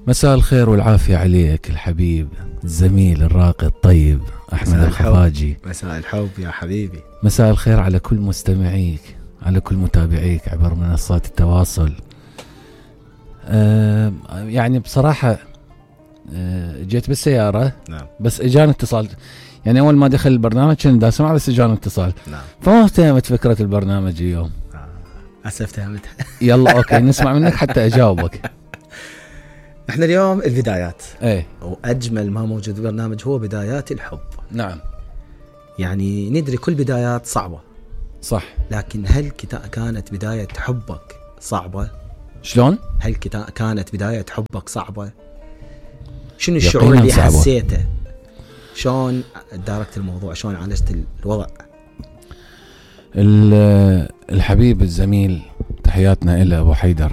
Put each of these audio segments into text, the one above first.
مساء الخير والعافية عليك الحبيب الزميل الراقي الطيب أحمد الخفاجي. مساء الحب يا حبيبي. مساء الخير على كل مستمعيك، على كل متابعيك عبر منصات التواصل. يعني بصراحة جيت بالسيارة. نعم. بس اجاني اتصال، يعني أول ما دخل البرنامج كنت دا سمع، بس اجاني اتصال. نعم. فما افتهمت فكرة البرنامج اليوم. افتهمتها. يلا أوكي نسمع منك حتى أجاوبك. احنا اليوم البدايات. ايه. واجمل ما موجود في البرنامج هو بدايات الحب. نعم. يعني ندري كل بدايات صعبة. صح. لكن هل كانت بداية حبك صعبة؟ شلون؟ هل كانت بداية حبك صعبة؟ شنو الشعور اللي صعبة. حسيته؟ شلون داركت الموضوع؟ شلون عالجت الوضع؟ الحبيب الزميل تحياتنا إلى أبو حيدر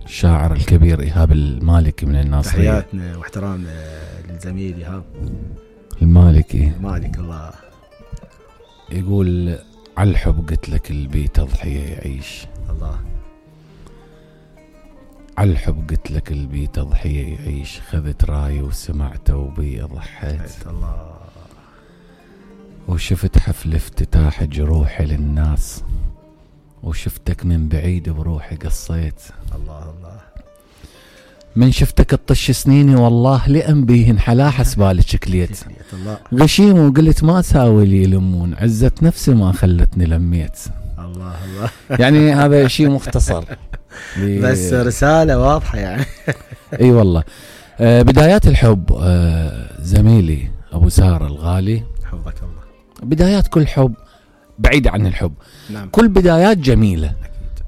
الشاعر الكبير إيهاب المالكي من الناصرية. تحياتنا واحترامنا للزميل إيهاب المالكي. مالك الله. يقول على الحب قلت لك البي تضحية يعيش. الله. على الحب قلت لك البي تضحية يعيش، خذت راي وسمعته وبي ضحيت. الله. وشفت حفل افتتاح جروحي للناس، وشفتك من بعيد بروحي قصيت. الله الله. من شفتك تطش سنيني والله لأنبيه حلا حسبالك شكليت. غشيم وقلت ما ساوي لي لمون، عزة نفسي ما خلتني لميت. الله الله. يعني هذا شيء مختصر بس رسالة واضحة يعني. اي والله. بدايات الحب زميلي أبو سارة الغالي، حفظك الله. بدايات كل حب بعيدة عن الحب. نعم. كل بدايات جميلة. أكيد.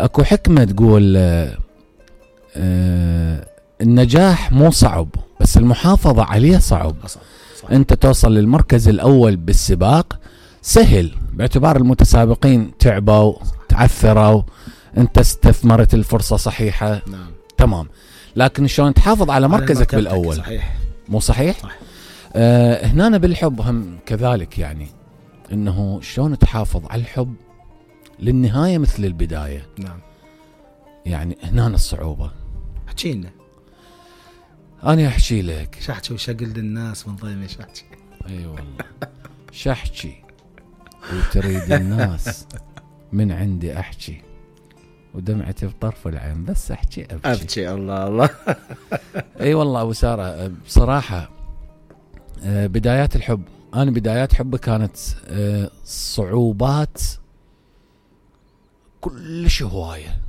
اكو حكمة تقول النجاح مو صعب، بس المحافظة عليه صعب. صح. انت توصل للمركز الأول بالسباق سهل، باعتبار المتسابقين تعبوا تعثروا، انت استثمرت الفرصة صحيحة. نعم. تمام. لكن شلون تحافظ على مركزك بالأول؟ صحيح. مو صحيح؟ صح. هنا بالحب هم كذلك، يعني انه شلون تحافظ على الحب للنهاية مثل البداية. نعم. يعني هنا الصعوبة. احكينا. أنا أحكي لك. شحكي وشقل للناس من ضيمي شحكي. أي والله. شحكي وتريد الناس من عندي أحكي، ودمعتي بطرف العين بس أحكي أبكي. الله الله. أي والله أبو سارة بصراحة بدايات الحب، أنا بدايات حبي كانت صعوبات كلش هواية.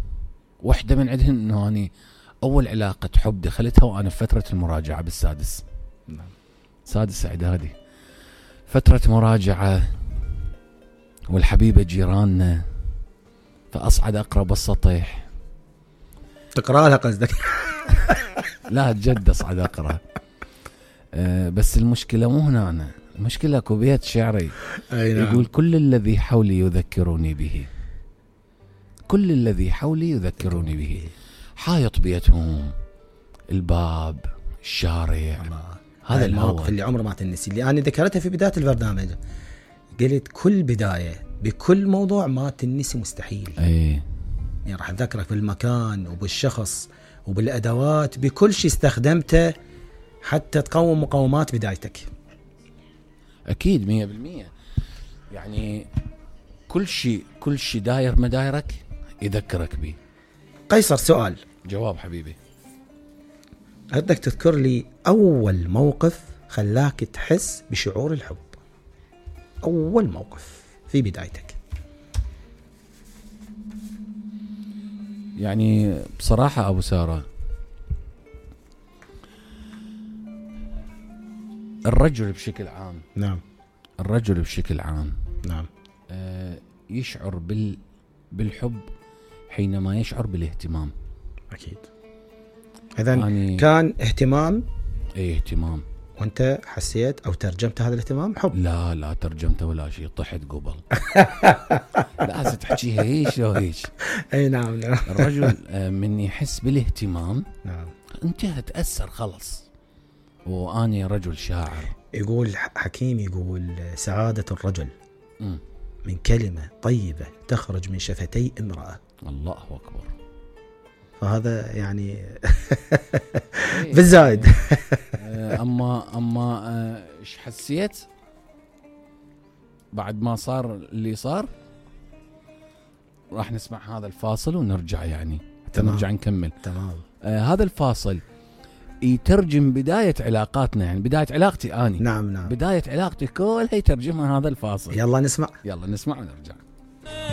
واحدة من عندهن أنه أنا أول علاقة حب دخلتها وأنا في فترة المراجعة بالسادس. نعم. سادس إعدادي، فترة مراجعة والحبيبة جيراننا، فأصعد أقرب السطح. تقرأ لها قصدك؟ لا جد أصعد أقرأ. بس المشكلة مو هنا، أنا المشكلة أكو بيت شعري. نعم. يقول كل الذي حولي يذكروني به، كل الذي حولي يذكروني به. حايط بيتهم، الباب، الشارع. هذا المواقف اللي عمره ما تنسي، اللي أنا ذكرتها في بداية البرنامج. قلت كل بداية بكل موضوع ما تنسي مستحيل. أي. يعني راح أذكرك بالمكان وبالشخص وبالأدوات، بكل شيء استخدمته حتى تقوم مقومات بدايتك. أكيد 100%. يعني كل شيء داير مدايرك يذكرك به. قيصر سؤال. جواب حبيبي. أردك تذكر لي أول موقف خلاك تحس بشعور الحب. أول موقف في بدايتك. يعني بصراحة أبو سارة، الرجل بشكل عام. نعم. الرجل بشكل عام. نعم. يشعر بالحب حينما يشعر بالاهتمام. أكيد. إذن كان اهتمام. ايه اهتمام. وانت حسيت او ترجمت هذا الاهتمام حب؟ لا ترجمته ولا شيء، طحت قبل. لازم تحكيها هيش لو هيش. اي نعم. الرجل من يحس بالاهتمام. نعم. انت هتأثر خلص. واني رجل شاعر. يقول حكيم، يقول سعادة الرجل من كلمة طيبة تخرج من شفتي امرأة. الله أكبر. فهذا يعني بالزايد. اما ايش حسيت بعد ما صار اللي صار؟ راح نسمع هذا الفاصل ونرجع يعني نرجع نكمل. تمام. هذا الفاصل يترجم بداية علاقاتنا، يعني بداية علاقتي اني. نعم. بداية علاقتي كلها يترجمها هذا الفاصل. يلا نسمع ونرجع.